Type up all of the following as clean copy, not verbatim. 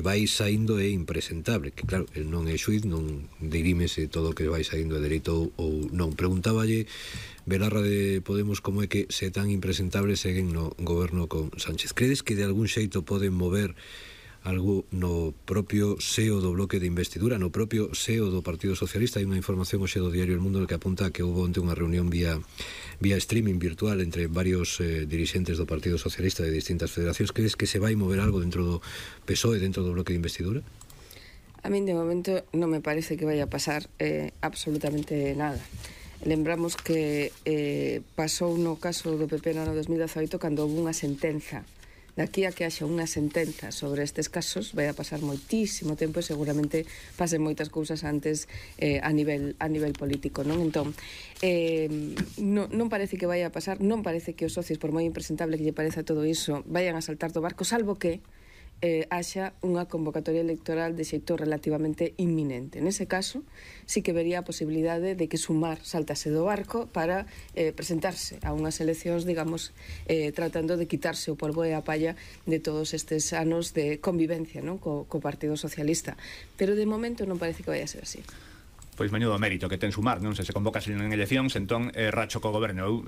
vai saindo é impresentable, que claro, el non é xuiz, non dirímese todo o que vai saindo de dereito ou non. Preguntáballe Belarra de Podemos como é que se tan impresentable seguen no goberno con Sánchez. Credes que de algún xeito poden mover algo no propio SEO do bloque de investidura, no propio SEO do Partido Socialista? Hai unha información hoxe do diario El Mundo que apunta que houve onte unha reunión vía streaming virtual entre varios dirixentes do Partido Socialista de distintas federacións. Crees que se vai mover algo dentro do PSOE, dentro do bloque de investidura? A min de momento non me parece que vaya a pasar absolutamente nada. Lembramos que pasou no caso do PP no ano 2018 cando houve unha sentenza. Daqui a que haxa unha sentenza sobre estes casos vai a pasar moitísimo tempo e seguramente pasen moitas cousas antes a nivel político, non? Entón, non parece que vai a pasar, non parece que os socios, por moi impresentable que lle pareza todo iso, vayan a saltar do barco, salvo que haxa unha convocatoria electoral de xeito relativamente inminente. Nese caso, sí que vería a posibilidade de que Sumar saltase do barco para presentarse a unhas eleccións, digamos, tratando de quitarse o polvo e a palla de todos estes anos de convivencia, non, co Partido Socialista. Pero de momento non parece que vai a ser así. Pois menudo mérito que ten Sumar, non? Se convocas en eleccións, entón racho co goberno.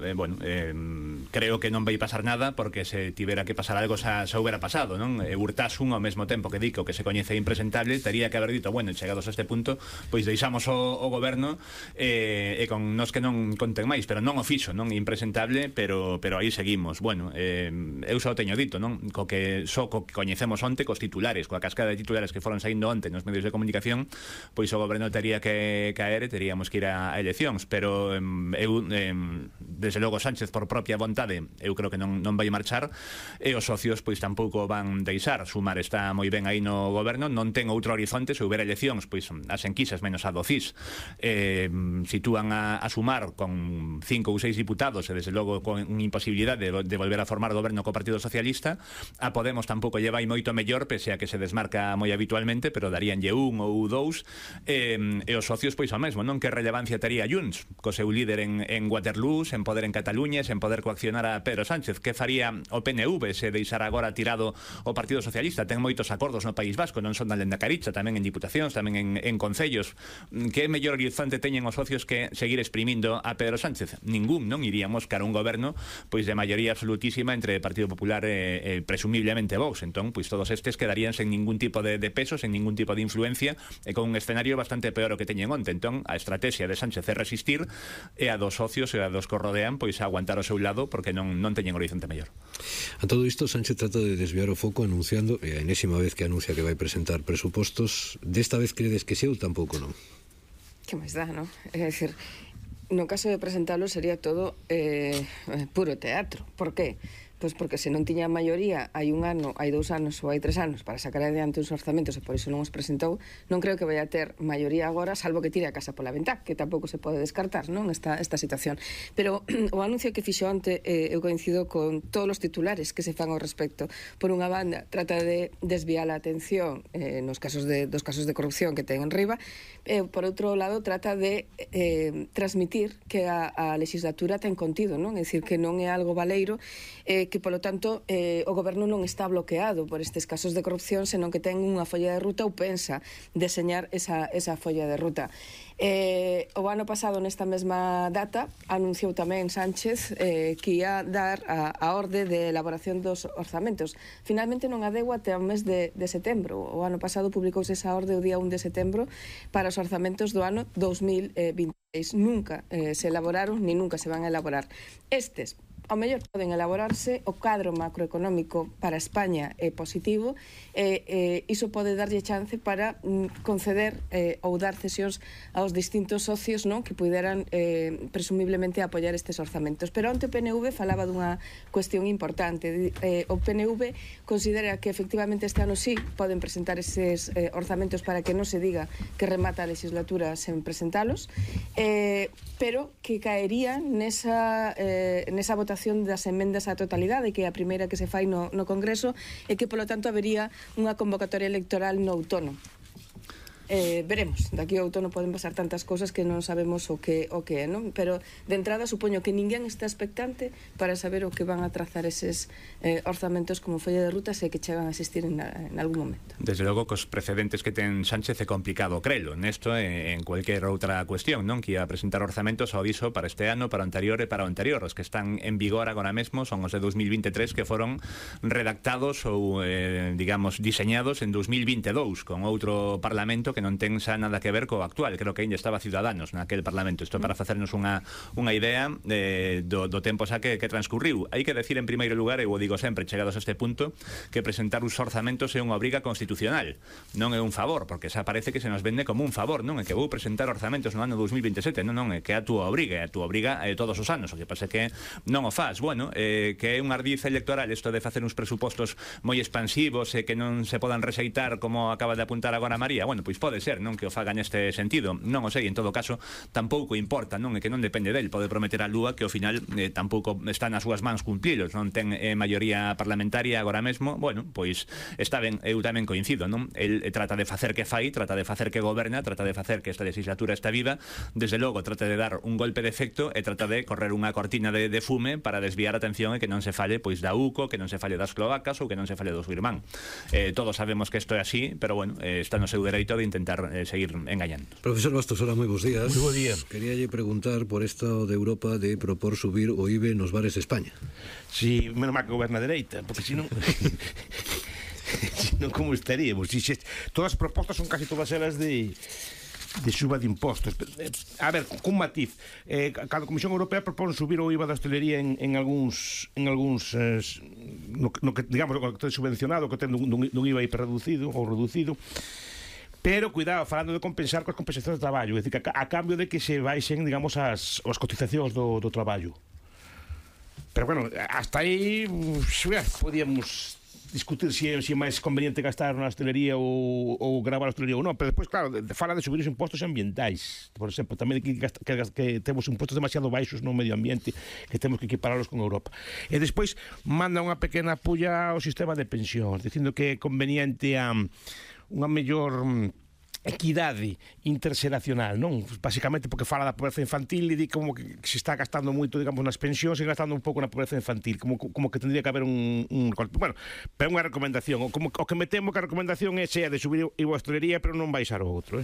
Creo que non vai pasar nada, porque se tivera que pasar algo xa houbera pasado, non? Urtasun ao mesmo tempo que dico que se coñece impresentable, tería que haber dito, bueno, chegados a este punto, pois deixamos o goberno e con nos que non conten máis, pero non o fixo, non? Impresentable, pero aí seguimos. Bueno, eu só teño dito, non? Co que coñecemos onte, cos titulares, coa cascada de titulares que foron saindo onte nos medios de comunicación, pois o goberno tería que caer e teríamos que ir a eleccións, pero desde logo Sánchez por propia vontade eu creo que non vai marchar, e os socios pois tampouco van deixar. Sumar está moi ben aí no goberno, non ten outro horizonte. Se houbera eleccións, pois as enquisas menos a do CIS sitúan a Sumar con 5 ou 6 diputados e desde logo con imposibilidade de volver a formar goberno co Partido Socialista. A Podemos tampouco lle vai moito mellor, pese a que se desmarca moi habitualmente, pero daríanlle un ou dous, e os socios pois ao mesmo, non? Que relevancia tería Junts co seu líder en Waterloo, sen poder en Cataluña, sen poder coaccionar a Pedro Sánchez? Que faría o PNV se deixara agora tirado o Partido Socialista? Ten moitos acordos no País Vasco, non son da Lendakaricha, tamén en diputacións, tamén en concellos. Que mellor horizonte teñen os socios que seguir exprimindo a Pedro Sánchez? Ningún, non? Iríamos cara a un goberno pois de maioría absolutísima entre Partido Popular e presumiblemente Vox. Entón, pois todos estes quedarían sen ningún tipo de peso, sen ningún tipo de influencia e con un escenario bastante peor o que teñen onte. Entón, a estrategia de Sánchez é resistir e a dos socios e a dos que o rodean pois aguantar ao seu lado, porque non teñen horizonte mellor. A todo isto, Sánchez trata de desviar o foco anunciando, e a enésima vez que anuncia que vai presentar presupostos. Desta vez credes que sí ou tampouco non? Que máis dá, non? É dicir, no caso de presentarlo sería todo puro teatro. Por qué? Pois porque se non tiña maioría hai un ano, hai 2 anos ou hai 3 anos para sacar adiante uns orzamentos e por iso non os presentou, non creo que vai a ter maioría agora, salvo que tire a casa pola ventá, que tampouco se pode descartar, non, esta situación. Pero o anuncio que fixo onte, eu coincido con todos os titulares que se fan ao respecto. Por unha banda, trata de desviar a atención dos casos de corrupción que ten en riba, por outro lado, trata de transmitir que a legislatura ten contido, non? É dicir, que non é algo baleiro, que, polo tanto, o goberno non está bloqueado por estes casos de corrupción, senón que ten unha folla de ruta ou pensa deseñar esa folla de ruta. O ano pasado, nesta mesma data, anunciou tamén Sánchez que ia dar a orde de elaboración dos orzamentos. Finalmente non a deu até o mes de setembro. O ano pasado publicouse esa orde o día 1 de setembro para os orzamentos do ano 2026. Nunca se elaboraron, ni nunca se van a elaborar. Estes, ao mellor poden elaborarse, o cadro macroeconómico para España é positivo, iso pode darlle chance para conceder ou dar cesións aos distintos socios, non, que puderan presumiblemente apoiar estes orzamentos. Pero onte o PNV falaba dunha cuestión importante. O PNV considera que efectivamente este ano sí poden presentar eses orzamentos para que non se diga que remata a legislatura sen presentalos, pero que caería nesa votación das emendas á totalidade, que é a primeira que se fai no Congreso, e que, polo tanto, habería unha convocatoria electoral no outono. Veremos, daqui ao outono poden pasar tantas cousas que non sabemos o que é, non? Pero de entrada supoño que ninguén está expectante para saber o que van a trazar eses orzamentos como folla de rutas e que chegan a existir en algún momento. Desde logo, cos precedentes que ten Sánchez é complicado crelo nesto e en cualquier outra cuestión, non? Que ia a presentar orzamentos ao aviso para este ano, para o anterior e para o anterior. Os que están en vigor agora mesmo son os de 2023 que foron redactados ou, digamos, diseñados en 2022 con outro parlamento que non ten xa nada que ver co actual. Creo que ainda estaba Ciudadanos naquel parlamento. Isto para facernos unha idea do tempo xa que transcurriu. Hai que decir en primeiro lugar, eu o digo sempre chegados a este punto, que presentar os orzamentos é unha obriga constitucional, non é un favor, porque xa parece que se nos vende como un favor, non é que vou presentar orzamentos no ano 2027, non, é que é a túa obriga todos os anos, o que pasa que non o faz. Bueno, que é un ardiz electoral isto de facer uns presupostos moi expansivos e que non se podan rexeitar como acaba de apuntar agora María. Bueno, pois pode ser, non, que o faga neste sentido, non o sei, en todo caso tampouco importa, non, é que non depende del, pode prometer a lúa que ao final tampouco está nas súas mans cumplilos, non ten maioría parlamentaria agora mesmo. Bueno, pois está ben, eu tamén coincido, non? El trata de facer que fai, trata de facer que goberna, trata de facer que esta legislatura está viva, desde logo trata de dar un golpe de efecto e trata de correr unha cortina de fume para desviar a atención e que non se fale pois da UCO, que non se fale das cloacas ou que non se fale do seu irmán. Todos sabemos que isto é así, pero bueno, está no seu dereito de intentar seguir engañando. Profesor Bastos, hola, moi bons días. Moi bo día. Queríalle preguntar por esto de Europa de propor subir o IBE nos bares de España. Si, menos mal que goberna a dereita, porque senón senón como estaríamos. Todas as propostas son casi todas elas de suba de impostos. A ver, cun matiz, cada Comisión Europea propón subir o IVA da hostelería en algúns no que, digamos, o que ten subvencionado, que ten dun IVA hiperreducido ou reducido. Pero, cuidado, falando de compensar coas compensacións de traballo, é dicir, a cambio de que se baixen, digamos, as cotizacións do traballo. Pero, bueno, hasta aí podíamos discutir se é máis conveniente gastar na hostelería ou gravar a hostelería ou non, pero despois, claro, fala de subir os impostos ambientais, por exemplo, tamén que temos impostos demasiado baixos no medio ambiente, que temos que equiparalos con Europa. E despois manda unha pequena pulla ao sistema de pensións, dicindo que é conveniente unha mellor equidade interxeracional, non? Basicamente porque fala da pobreza infantil e di como que se está gastando moito, digamos, nas pensións e gastando un pouco na pobreza infantil, como que tendría que haber un bueno, pero é unha recomendación, o que me temo que a recomendación é de subir a hostelería pero non baixar o outro,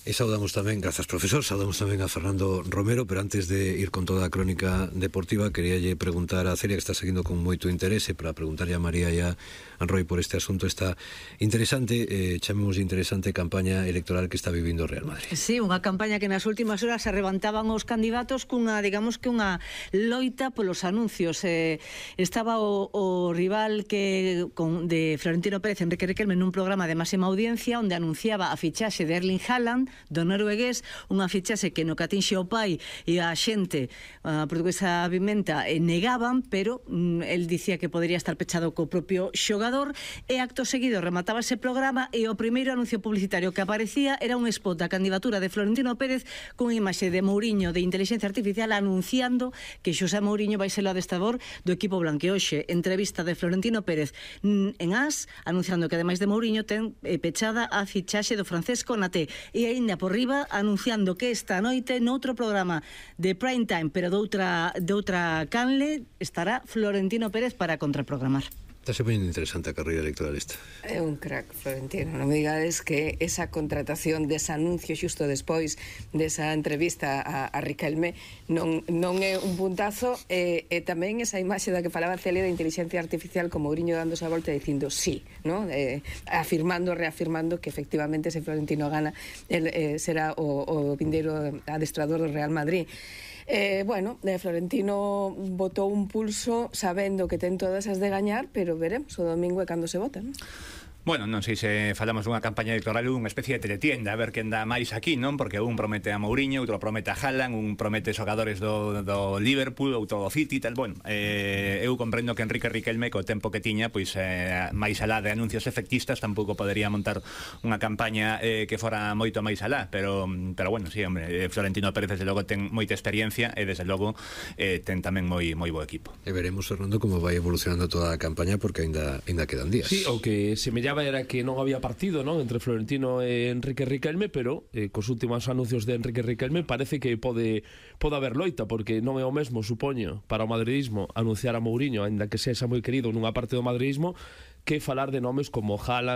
E saudamos tamén, grazas profesor, saudamos tamén a Fernando Romero, pero antes de ir con toda a crónica deportiva, queríalle preguntar a Celia, que está seguindo con moito interese, para preguntarlle a María e a Roy por este asunto, esta interesante, chamemos interesante campaña electoral que está vivindo o Real Madrid. Sí, unha campaña que nas últimas horas se levantaban os candidatos cunha, digamos que unha loita polos anuncios. Estaba o rival de Florentino Pérez, Enrique Riquelme, nun programa de máxima audiencia onde anunciaba a fichaxe de Erling Haaland, do noruegués, unha fichaxe que no que atinxe o pai e a xente, a portuguesa Pimenta, negaban, pero el dicía que podría estar pechado co propio xogador, e acto seguido remataba ese programa e o primeiro anuncio publicitario que aparecía era un spot da candidatura de Florentino Pérez cunha imaxe de Mourinho de inteligencia artificial anunciando que Xosé Mourinho vai ser o adestrador do equipo blanqueoxe. Entrevista de Florentino Pérez en AS, anunciando que ademais de Mourinho ten pechada a fichaxe do francés Konaté, e ainda por riba anunciando que esta noite noutro programa de prime time, pero de outra canle, estará Florentino Pérez para contraprogramar. Está se poniendo interesante a carreira electoral esta. É un crack, Florentino. Non me digades que esa contratación dese anuncio xusto despois desa entrevista a Riquelme non é un puntazo, e tamén esa imaxe da que falaba Celia de inteligencia artificial con Mourinho dándose a volta e dicindo sí, ¿no? Reafirmando que efectivamente se Florentino gana, será o vindeiro adestrador do Real Madrid. Bueno, Florentino botou un pulso sabendo que ten todas as de gañar, pero veremos o domingo é cando se vota, non? Bueno, non sei se falamos dunha campaña electoral ou unha especie de teletienda, a ver quen dá máis aquí, non? Porque un promete a Mourinho, outro promete a Haaland, un promete xogadores do Liverpool, outro do City, tal. Bueno, eu comprendo que Enrique Riquelme, co tempo que tiña, pois máis alá de anuncios efectistas, tampouco podería montar unha campaña que fora moito máis alá, pero bueno, sí, hombre, Florentino Pérez desde logo ten moita experiencia e desde logo ten tamén moi bo equipo. E veremos, Fernando, como vai evolucionando toda a campaña, porque ainda quedan días. Sí, o que semella semellaba era que non había partido, non, entre Florentino e Enrique Riquelme, pero cos últimos anuncios de Enrique Riquelme parece que pode haber loita, porque non é o mesmo, supoño, para o madridismo anunciar a Mourinho, aínda que sexa moi querido nunha parte do madridismo, que falar de nomes como Haaland,